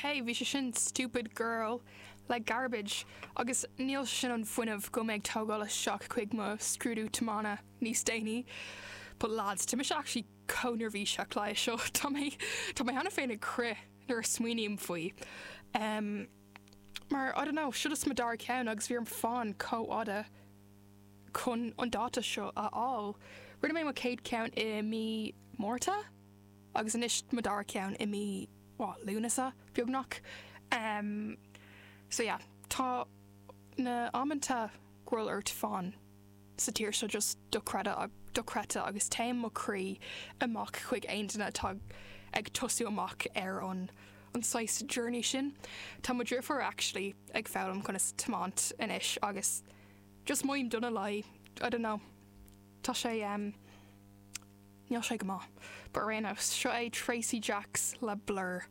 Ok, bhí sé sin Stupid Girl le Garbage agus níl sé sin an fuinneamh go mbeidh tógáil isteach chuig mo scrúdú tiomána níos déanaí. But lads, tá mise actually chomh neirbhíseach le seo. Tá mé tá mé cheana féin ag crith nuair a smaoiním faoi. Um, mar, I don't know, seo just mo dara ceann agus bhí orm fán chomh fhada chun an dáta seo a fháil. Rinne mé mo chéad ceann i mí Márta? Agus anois mo dara ceann i mí, what, Lúnasa, beagnach. Em, so yeah, tá na amanta go bhfuil ort fán sa tír seo just dochreidte, dochreidte agus téann mo chroí amach chuig aon duine atá ag tosú amach ar an, an saghas journey sin. Tá mo dheirfiúr actually ag foghlaim conas tiomáint anois agus just mothaím dona léi, I don't know, tá sé, em, Níl sé go maith. But ar aon nós, seo é Tracy Jacks le Blur.